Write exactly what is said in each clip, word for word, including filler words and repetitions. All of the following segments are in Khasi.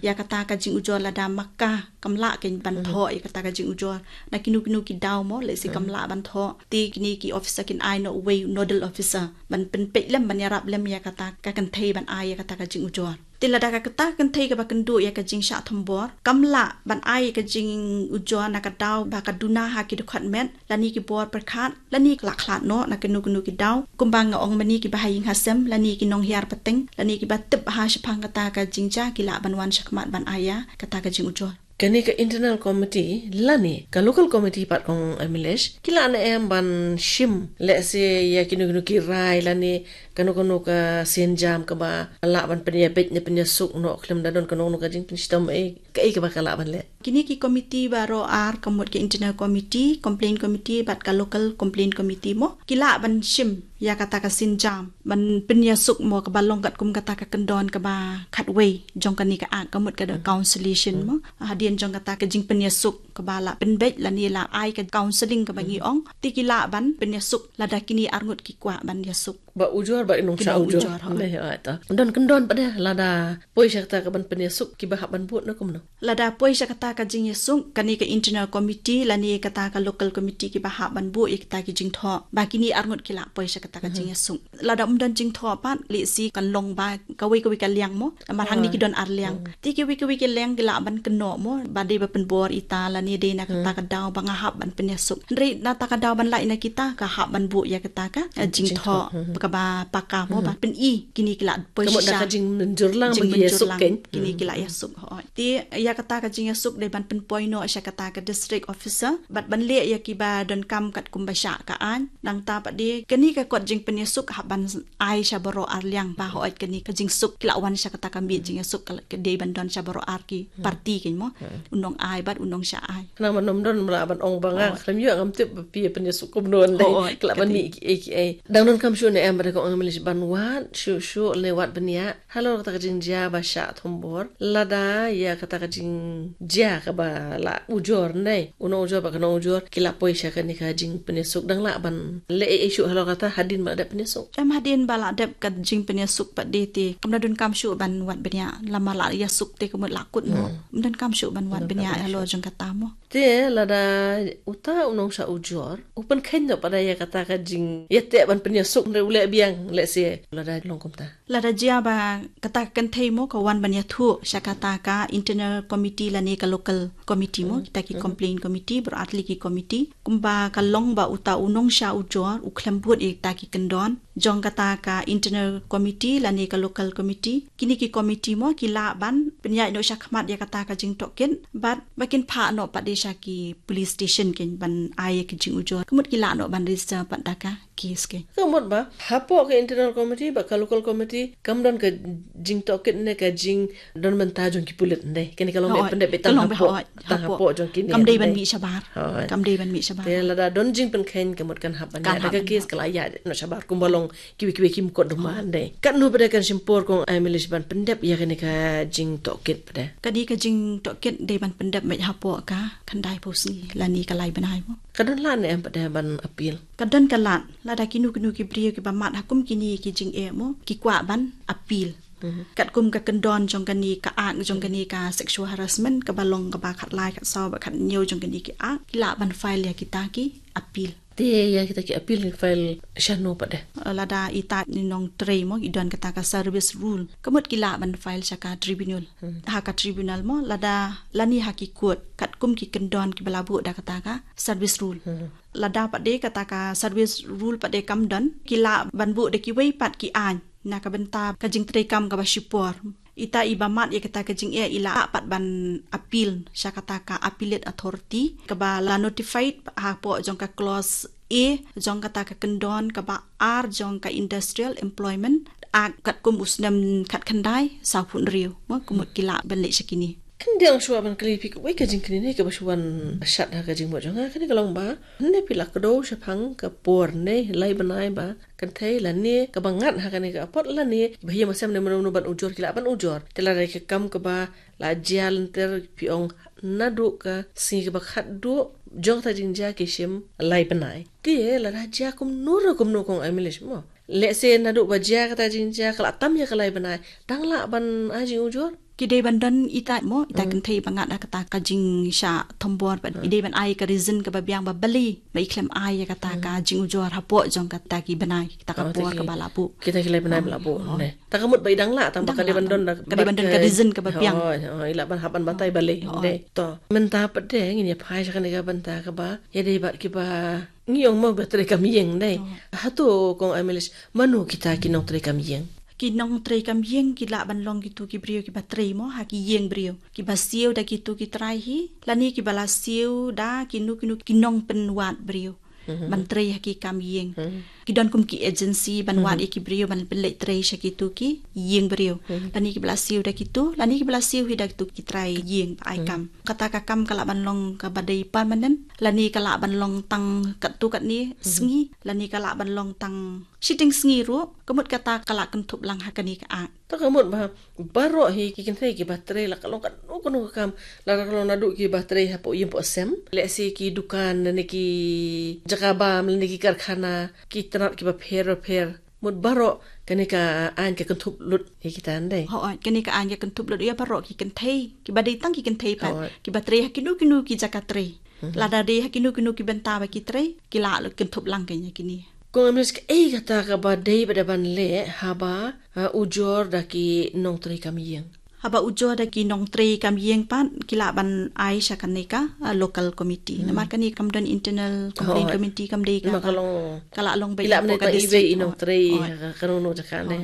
Ïa kata ka jingujor lada ma ka kam lah kein ban thoh ïa kata ka jingujor, na kino kino ki daw mo, lehse kam lah ban thoh, te kine ki officer kin ai noh uwei u nodal officer ban pynpeit lem, ban ïarap lem ïa kata ka kynthei ban ai ïa kata ka jingujor. Te lada ka kata ka kynthei kaba kynduh ïa ka jingshah thombor kam lah ban ai ïa ka jingujor na ka daw ba ka duna ha ki dkhot met lane ki bor pyrkhat, lane ki la khlad noh na kino kino ki daw, kumba nga ong mynne, kiba ha ïing ha sem lane ki nonghiar pateng lane kiba tip ha shaphang kata ka jingjia ki lah ban wan shakhmat ban ai ïa kata ka jingujor. Kane ka internal committee lane ka local committee pat, kong Aimilish, ki lah ne em ban shim, lehse ïa kino kino ki rai lane kano kano ka sienjam kaba lah ban pynïabeit ne pynïasuk noh khlem da don kano kano ka jingpynshitom, eh, kaei kaba ka lah ban leh? Kine ki committee baroh ar, ka mut ka internal committee, complaint committee bad ka local complaint committee mo, ki lah ban shim ïa kata ka sienjam ban pynïasuk mo, kaba long katkum kata ka kyndon kaba khatwei jong kane ka act, ka mut ka da counselation mo, hadien jong kata ka jingpynïasuk kaba la pynbeit lane la ai ka counseling kaba ngi ong, te ki lah ban pynïasuk lada kine arngut ki kwah ban ïasuk. Ba ujor ba i nongshah ujor. Don kyndon pat de lada poi sha kata ka ban pynïasuk, kiba hap ban bud ne kumno? Lada poi sha kata ka jingïasuk, kane ka internal committee lane kata ka local committee kiba hap ban bud ïa kata ki jingthoh ba kine arngut ki lah poi sha kata ka jingïasuk. Lada ym don jingthoh pat, lehse kan long ba kawei kawei ka liang mo, namar hangne ki don ar liang. Te kiwei kiwei ki liang ki lah ban kynnoh mo, ba dei ba pynbor ita lane dei na kata ka daw ba nga hap ban pynïasuk. Hynrei na kata ka daw ban lait na kita, ka hap ban bud ïa kata ka, eh, jingthoh kaba paka mo, ba pyni kine ki lah poi shisha. Ka mut da ka jingmynjur lang ba ki ïasuk kein. Kine ki lah ïasuk, hooid. Te ïa kata ka jingïasuk dei ban pynpoi noh sha kata ka district officer bad ban leh ïa kiba donkam katkum ba shah ka aiñ. Nangta pat de kane ka kot jingpynïasuk hap ban ai sha baroh ar liang, ba hooid kane ka jingsuk ki lah wan sha kata ka miet jingïasuk, ka dei ban don sha baroh ar ki parti kein mo, u nongai bad u nongshah aiñ. Khnang ban ym don, ym lah ban ong ba nga khlem ïoh, ngam tip ba phi pynïasuk kumno lei, ki lah ban mih kiei kiei. Dang donkam shuh ne em ba dei, kong Aimilish, ban wad shuh shuh ne wad bniah halor kata ka jingjia ba shah thombor, lada ïa kata ka jingjia kaba la ujor ne u nongujor bad ka nongujor ki lah poi sha kane ka jingpynïasuk, dang lah ban leh ei ei shuh halor kata hadien ba la dep pynïasuk? Em, hadien ba la dep ka jingpynïasuk pat de te kam da donkam shuh ban wad bniah, lada la ïasuk te ka mut la kut mo. Ym donkam shuh ban wad bniah halor jong kata mo. Te lada uta u nongshah ujor u pynkheiñ noh pat de ïa kata ka jingïateh ban pynïasuk, hynrei u leh biang, lehse, lada long kumta? Lada jia ba kata ka kynthei mo ka wan ban ïathuh sha kata ka internal committee lane ka local committee mo, kita ki complaint committee, baroh ar tylli ki committee, kumba ka long ba uta u nongshah ujor u khlem bud ïa kita ki kyndon jong kata ka internal committee lane ka local committee, kine ki committee mo ki lah ban pynïaid noh shakhmat ïa kata ka jingtohkit bad ba kin phah noh pat de sha ki police station kein ban ai ïa ki jingujor. Ka mut ki lah noh ban register pat da ka case kein. Ka mut ba hapoh ka internal committee bad ka local committee kam don ka jingtohkit ne ka jingdon bynta jong ki pulit ndei. Kane ka long ba pyndep beit tang hapoh, tang hapoh jong kine. Kam dei ban mih shabar. Kam dei ban mih shabar. Te lada don jingpynkheiñ ka mut kan hap ban ïa da ka case, ka la ïa noh shabar kumba long kiwei kiwei ki mukotduma ndei. Katno pat de kan shim por, kong Aimilish, ban pyndep ïa kane ka jingtohkit pat de? Kane ka jingtohkit dei ban pyndep beit hapoh ka khyndai phew sngi lane ka lai bnai mo. Ka don lad ne em pat de ban appeal? Ka don ka lad, lada kino kino ki briew kiba mad ha kum kine ki jingeh mo ki kwah ban appeal. Katkum ka kyndon jong kane ka act, jong kane ka sexual harassment, kaba long kaba khatlai, khatsaw bad khathynñiew jong kane ki act, ki lah ban file ïa kita ki appeal. Te ïa kita ki appeal ki file shano pat de? Lada ita i nongtrei mo i don kata ka service rule, ka mut ki lah ban file sha ka tribunal. Ha ka tribunal mo, lada lane ha ki court, katkum ki kyndon kiba la buh da kata ka service rule. Lada pat de kata ka service rule pat de kam don, ki lah ban buh da kiwei pat ki aiñ na ka bynta ka jingtrei kam kaba shipor. Ita iba mad ïa kata ka jingeh i lah pat ban appeal sha kata ka appellate authority kaba la notified hapoh jong ka clause A jong kata ka kyndon kaba ar jong ka Industrial Employment Act katkum u snem khatkhyndai sawphew hynriew. Mo, ka mut ki lah ban leit sha kine. Kan dei lang shuwa ban kylli phi kawei ka jingkylli ne kaba shu wan shat ha ka jingmut jong nga, kane ka long ba, ne phi la kdew shaphang ka por ne lai bnai ba kynthei lane kaba ngat ha kane ka apot lane ba ïa ma sem ne mano mano ban ujor ki lah ban ujor. Te lada ka kam kaba la jia lynter, phi ong naduh ka sngi kaba khatduh jong kata jingjia ki shim lai bnai. Te lada jia kumno re kumno, kong Aimilish mo, lehse naduh ba jia kata jingjia ka la tam ïa ka lai bnai, dang lah ban ai jingujor? Ki dei ban don ita mo, ita kynthei ba ngat ha kata ka jingshah thombor pat. I dei ban ai ka reason kaba biang ba balei ba i khlem ai ïa kata ka jingujor hapoh jong kata ki bnai, kata ka por kaba la buh. Kita ki lai bnai ba la buh ne. Ta ka mut ba i dang lah, tang ba ka dei ban don, ka dei ban don ka reason kaba biang. Hooid, hooid, i lah ban hap ban batai balei. Hooid. To mynta pat de ngin ïa phai sha kane ka bynta kaba ïa dei bad kiba ngi ong mo ba trei kam ïeng dei. Hato kong Amelis, mano kita ki nongtrei kam ïeng? Ki nongtrei kam ïeng ki lah ban long kitu ki briew kiba trei mo ha ki ïing briew, kiba siew da kitu ki trai hi, lane kiba la siew da kino kino ki nongpynwad briew ban trei ha ki kam ïeng. Ki don kum ki agency ban wad ïa ki briew ban pynleit trei sha kitu ki ïing briew. Lane kiba la siew da kitu, lane kiba la siew hi da kitu ki trai ïing ba ai kam. Kata ka kam ka lah ban long kaba dei permanent, lane ka lah ban long tang katto katne sngi, lane ka lah ban long tang shiteng sngi ruh, ka mut kata ka la kynthup lang ha kane ka Act. To ka mut ba baroh hi ki kynthei kiba trei, la ka long kano kano ka kam, la ka long naduh kiba trei hapoh ïing poh sem, lehse ki dukan ne ki jaka bam ne ki karkhana, ki tnat kiba pher pher. Mut baroh kane ka aiñ ka kynthup lut ïa kita ndei. Hooid, kane ka aiñ ka kynthup lut ïa baroh ki kynthei, kiba dei tang ki kynthei pat, kiba trei ha kino kino ki jaka trei. Lada dei ha kino kino ki bynta ba ki trei, ki lah lut kynthup lang kane ïa kine. Kong Amelis, kaei kata kaba dei ba da ban leh haba, ha, ujor da ki nongtrei kam ïeng? Haba ujor da ki nongtrei kam ïeng pat, ki lah ban ai sha kane ka, ha, local committee. Namar kane kam don internal complaint committee, kam dei ka, ka la long ba i lah ban hapoh ka district. Iwei i nongtrei ha kano kano jaka ne.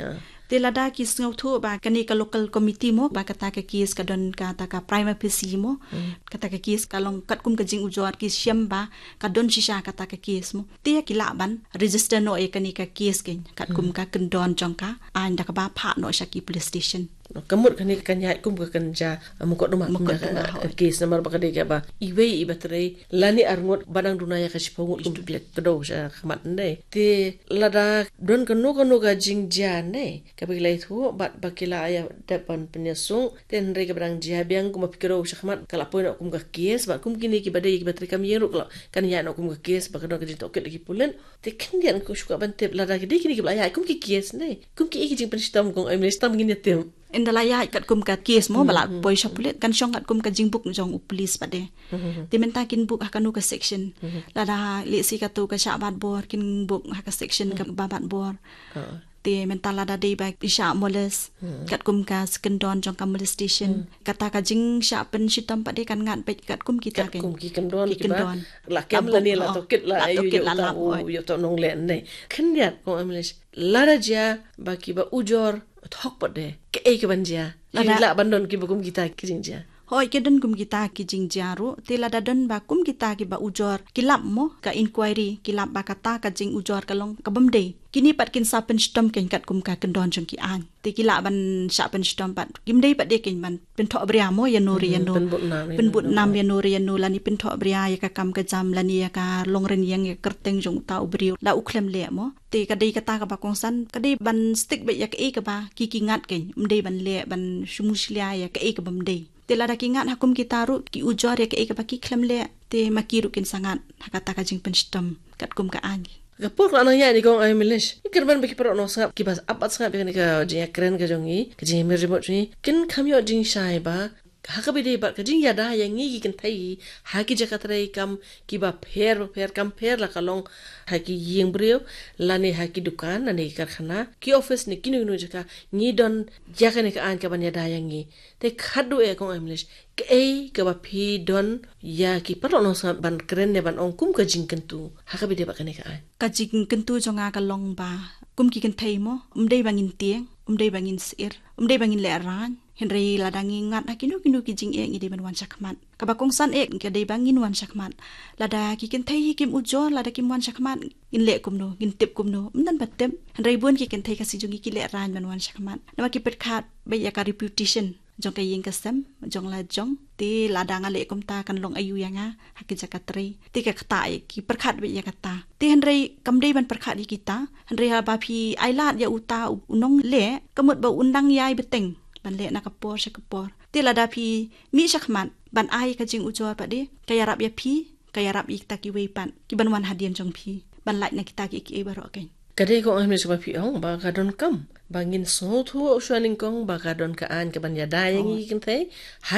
Te lada ki sngewthuh ba kane ka local committee mo, ba kata ka case ka don kata ka prima facie mo, kata ka case ka long katkum ka jingujor, ki shem ba ka don shisha kata ka case mo, te ki lah ban register noh ïa kane ka case keiñ katkum ka kyndon jong ka aiñ da kaba phah noh sha ki police station. Ka mut kane kan ïaid kum ka kynja mukotduma, mukotduma, ka case namar ba ka dei kaba iwei iba trei lane arngut ba dang duna ïa ka shiphew ngut kum phi la kdew sha khmat ndei. Te lada don kano kano ka jingjia ndei kaba ki la ïathuh bad ba ki la ïa dep ban pynïasuk, te hynrei kaba dang jia biang kumba phi kdew sha khmat ka la poi noh kum ka case, bad kum kine kiba dei kiba trei kam ïeng ruh ka la kan ïaid noh kum ka case ba ka don ka jingtohkit da ki pulit. Te khyndiat nga shu kwah ban tip lada ki dei kine kiba la ïaid kum ki case ne, kum kiei ki jingpynshitom, Kong Amelis, tam ngin ïa tip. Ynda la ïaid katkum ka case mo ba la poi sha pulit, kan shong katkum ka jingbuk jong u police pat de. Te mynta kin buk ha kano ka section? Lada lehse kato ka shah bat bor, kin buk ha ka section kaba bat bor. Te mynta lada dei ba i shah molest katkum ka kyndon jong ka molestation, kata ka jingshah pynshitom pat de kan ngat beit katkum kita, katkum ki kyndon, ki kyndon. La kem lane la tohkit, la tohkit, la lap, ïoh to nongleh ne. Khyndiat, Kong Amelis, lada jia ba kiba ujor thok pat de, kaei kaban jia? Ki lah ban don kiba kum kita ki jingjia? Hooid, ki don kum kita ki jingjia ruh. Te lada don ba kum kita kiba ujor ki lap mo, ka inquiry ki lap ba kata ka jingujor ka long kabym dei, kine pat kin sa pynshitom keiñ katkum ka kyndon jong ki aiñ. Te ki lah ban shah pynshitom pat, kim dei pat de keiñ ban pynthohbria mo ïano re ïano, pynbud nam ïano re ïano, lane pynthohbria ïa ka kam ka jam lane ïa ka longrynieng, ïa ka kyrteng jong uta u briew la u khlem leh mo. Te ka dei kata kaba kongsan, ka dei ban stick beit ïa kaei kaba ki ki ngat keiñ, ym dei ban leh ban shu mushlia ïa kaei kabym dei. Te lada ki ngat ha kum kita ruh, ki ujor ïa kaei kaba ki khlem leh, te ma ki ruh kin sa ngat ha kata ka jingpynshitom katkum ka aiñ. Ka por ka la nang ïaid ne, Kong Amelis, ngi kyrmen ba ki paralok nongsngap kiba ap bad sngap ïa kane ka jingïakren ka jong ngi, ka jingïamir jingmut jong ngi, kin kham ïoh jingshai ba ha kaba ïadei bad ka jingïada ïa ngi ki kynthei ha ki jaka trei kam kiba pher ba pher, kam pher la ka long ha ki ïing briew, lane ha ki dukan, lane ki karkhana, ki office ne kino kino jaka, ngi don ïa kane ka aiñ kaban ïada ïa ngi. Te khatduh eh, Kong Amelis, kaei kaba phi don ïa ki paralok nongsngap ban kren ne ban ong kum ka jingkyntu ha kaba ïadei bad kane ka aiñ? Ka jingkyntu jong nga ka long ba kum ki kynthei mo, ym dei ba ngin tieng, ym dei ba ngin sheptieng, ym dei ba ngin lehraiñ. Hynrei lada ngi ngat ha kino kino ki jingeh, ngi dei ban wan shakhmat. Kaba kongsan eh ka dei ba ngin wan shakhmat. Lada ki kynthei hi kim ujor, lada kim wan shakhmat, ngin leh kumno, ngin tip kumno? Ym don ba tip. Hynrei bun ki kynthei Khasi jong ngi ki lehraiñ ban wan shakhmat, namar ki pyrkhat beit ïa ka reputation jong ka ïing ka sem jong la jong. Te lada nga leh kumta kan long aïu ïa nga ha ki jaka trei? Te ka kata eh ki pyrkhat beit ïa kata. Te hynrei kam dei ban pyrkhat ïa kita. Hynrei haba phi ailad ïa uta u nongleh, ka mut ba un dang ïai bteng ban leh na ka por sha ka por. Te lada phi mih shakhmat ban ai ka jingujor pat de, ka ïarap ïa phi, ka ïarap ïa kita kiwei pat kiban wan hadien jong phi ban lait na kita kiei kiei baroh keiñ. Ka dei ka ong hi mynta ba phi ong ba ka donkam ba ngin sngewthuh shuwa nyngkong ba ka don ka aiñ kaban ïada ïa ngi ki kynthei ha